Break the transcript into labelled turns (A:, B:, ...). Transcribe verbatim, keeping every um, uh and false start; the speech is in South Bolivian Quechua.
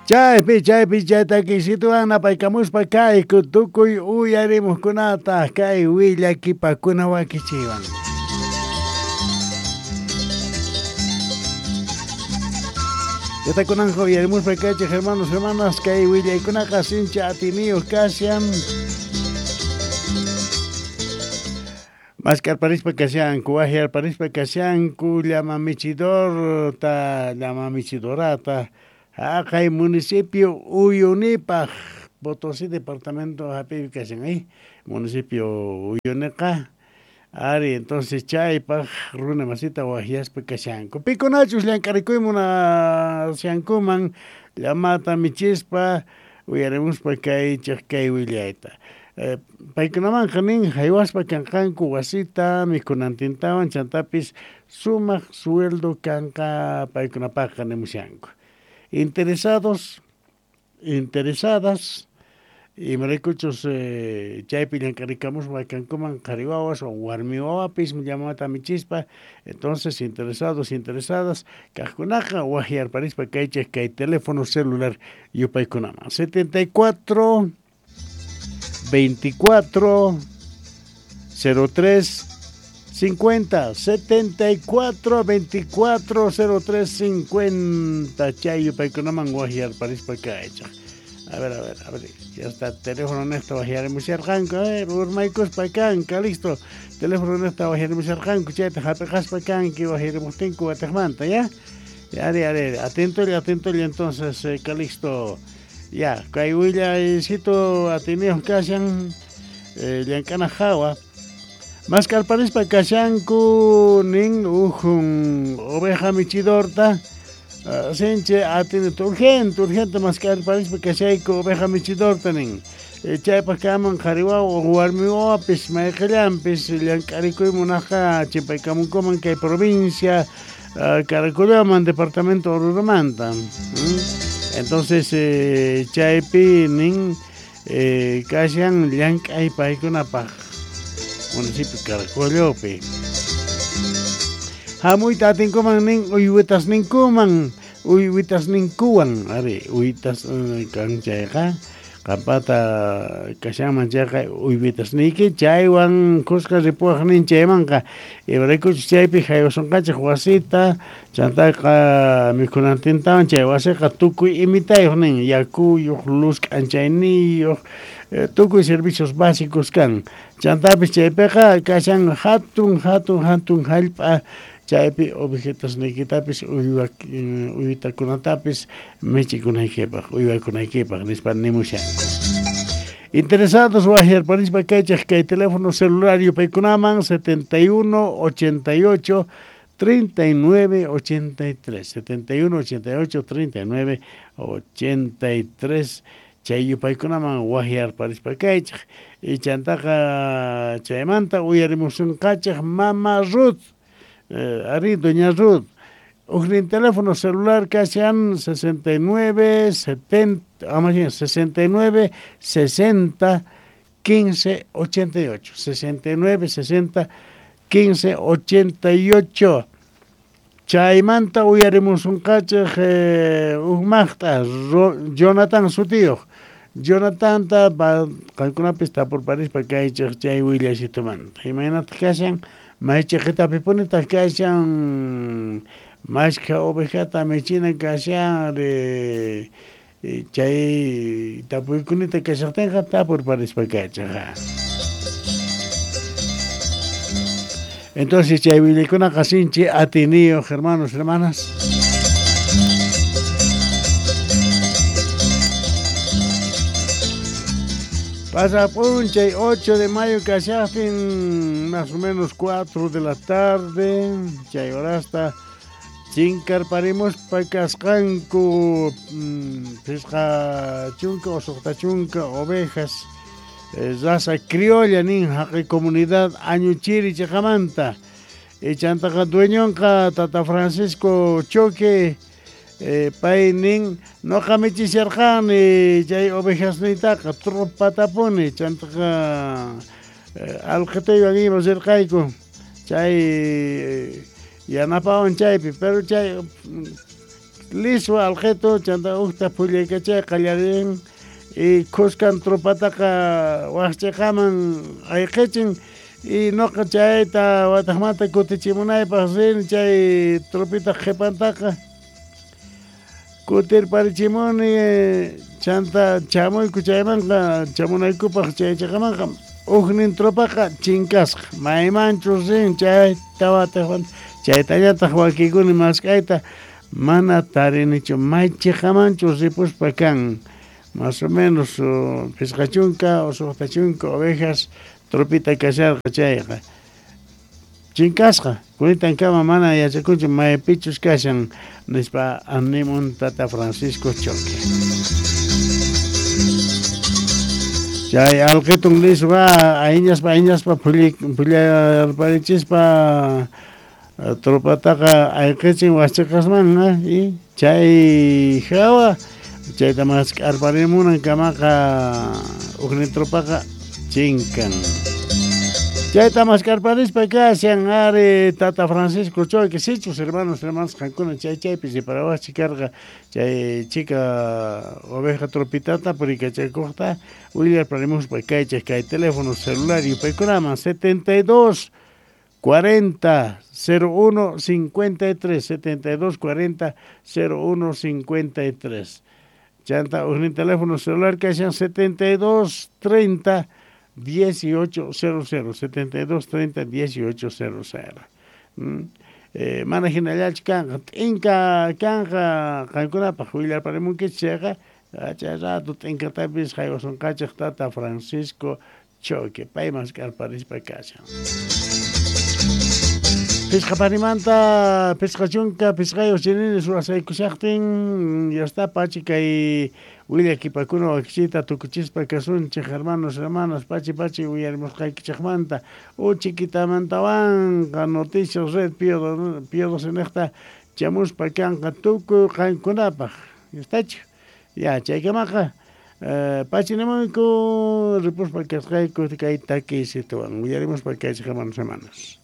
A: Chaypi chaypi chay takisituwan napaykamuspa kayku tukuy uyarimuqkunata kay willakipakuna wakichiwan. Yatakunanqa uyarimuspa kaychik hermanos hermanas kay willaykunaqa sincha atiniyuq kashan. Maskarparispa kashanku, wahyarparispa kashanku, llama michidorta, llama michidorata, haqay municipio Uyunipaq, Potosí departamento hapipi kashan, eh? Municipio Uyuniqa. Ari, entonces chaypaq runa masita wahyaspa kashanku. Pikunachus llank'arikuy munashankuman llamata michispa uyarimuspa kaychik kay willayta. Eh, paykunamanqa nin haywaspa kanqanku wasita mikhunantintawan chantapis sumaq sueldo kanqa paykunapaqqa nimushanku. Interesados, interesadas, imaraykuchus eh, chaypi llank'arikamuspa kankuman qhari wawas o warmi wawapis llamata michispa, entonces interesados, interesadas, kaqkunaqa wahyarparispa kaychik kay teléfono celular yupaykunaman setenta y cuatro veinticuatro cero tres cincuenta, setenta y cuatro veinticuatro cero tres cincuenta, chay yupaykunaman wahyarparispa kaychik. A ver, a ver, a ver, ya está teléfono nesto wahyarimusharqanku, eh, urmaykuspa kanka, listo. Teléfono nesto wahyarimusharqanku, chayta hapiqaspa kanki wahyarimuqtinku wataqmanta, ya. Ari, ari, atento, atento, entonces, eh, Calixto. Ya, kay willaycito atiniyuq kashan, eh, llank'ana hawa. Maskarparispa kashanku nin ujun oveja michidorta, uh, sinchi atinito, urgente, urgente maskarparispa kashayku oveja michidorta nin. Eh, chaypaq kaman qhari wawa o warmi wawapis mayqillanpis llank'arikuy munaqqa chimpaykamunkuman kay provincia uh, Caracolloman departamento Oruromanta. ¿Mm? Entonces, eh, chaypi nin eh, kashan llank'ay paykunapaq municipio Caracollopi. Hamuyta atinkuman nin uywitas ninkuman, uywitas ninkuwan, ari uywitas uh, kan chayqa qampata kashanman chayqa uywitas niyki chaywan kuska ripuwaq nin chaymanqa imaraykuchus chaypi haywasunqachik wasita chantaqa mikhunantintawan chay wasiqa tukuy imitayuq nin yakuyuq luz k'anchayniyuq eh, tukuy servicios básicos kan chantapis chaypiqa kashan hatun hatun hatun hallp'a chaypi objetos niykitapis uywa uywitakunatapis michikunaykipaq uywakunaykipaq nispa nimushanku. Interesados wahyarparispa kaychik kay teléfono celular yupaykunaman setenta y uno ochenta y ocho treinta y nueve ochenta y tres, setenta y uno ochenta y ocho treinta y nueve ochenta y tres chay yupaykunaman wahyarparispa kaychik y chantaqa chaymanta uyarimusunqachik mama Ruth. Eh, ari, doña Ruth, ujnin teléfono celular kashan sesenta y nueve, setenta, ah, más bien, sesenta y nueve, sesenta, quince, ochenta y ocho, sesenta y nueve, sesenta, quince, ochenta y ocho. Chaymanta uyarimusunqachik eh, ujmaqta Jonathan sutiyuq. Jonathan ta qankunapis tapurparispa kaychik chay willasitumanta. Imaynataq kashan maychiqitapipunitaq kashan mashkha ovejata michina kashan eh, chay tapuykunita kashaqtinqa tapurparispa kaychik. Entonces chay willaykunaqa sinchi atiniyuq hermanos, hermanas. Pasap'unchay ocho de mayo kashaqtin más o menos cuatro de la tarde chay horasta chinkarparimuspa kasqanku phisqa chunka o suqta chunka ovejas eh, raza criolla nin haqay comunidad Añuchiri chiqamanta chantaqa dueñonqa Tata Francisco Choque eh, pay nin noqa michisharqani chay ovejasniytaqa tropatapuni chantaqa eh, alqitaywan ima rirqayku chay eh, yanapawan chaypi pero chay Liswa alqeto chanta ujta phullaykachay qallarin y khuskan tropataqa waqchiqaman ayqichin y noqa chayta wataqmanta kutichimunaypaq rin chay tropita qhipantaqa kutirparichimuni chanta chamuyku chaymanqa chamunaykupaq chay chiqamanqa ujnin tropaqa chinkasqa maymanchus rin chayta wataqmanta chaytallataq wakiykuni mask'ayta mana tarinichu may chiqamanchus ripuspa kan más o menos phisqa chunka o suqta chunka ovejas tropita kasharqa chayqa chinkasqa kunitankama mana yachakunchu maypichus kashan nispa animun tata Francisco Choque. Chay alqitun liswa ayñaspa ayñaspa phullarparichispa tropataqa ayqichin waqchiqasman y chay hawa chayta mask'arparimunan kamaqa ujnin tropaqa chinkan. Chayta mask'arparispa kashan ari tata Francisco Choque sichus hermanos hermanas qankuna chay chaypi riparawaqchik karqa chay chika oveja tropitata purikachakuqta willarparimuspa kaychik kay teléfono celular yupaykunaman setenta y dos cuarenta cero uno cincuenta y tres setenta y dos cuarenta cero uno cincuenta y tres. Chanta ujnin teléfono celular kashan setenta y dos treinta dieciocho cero cero setenta y dos treinta dieciocho cero cero. Mm. Eh, mana hinallachu kanqa t'inka kanqa qankunapaq willarparimunkichik chayqa chay rato t'inkatapis haywasunqachik tata Francisco Choque pay mask'arparispa kashan. Phisqa parimanta phisqa chunka phisqayuq chinini suwasaykushaqtin ya está pachi kay willakipakuna wakichiyta tukuchispa kasunchik hermanos hermanas pachi pachi uyarimusqaykichikmanta uchikitamantawanqa noticias red Pío Pío doce niqta chamuspa kanqa tukuy qankunapaq estachu ya chaykamaqa pachi nimuyku ripuspa kasqayku kay takiysituwan uyarimuspa kaychik hermanos hermanas.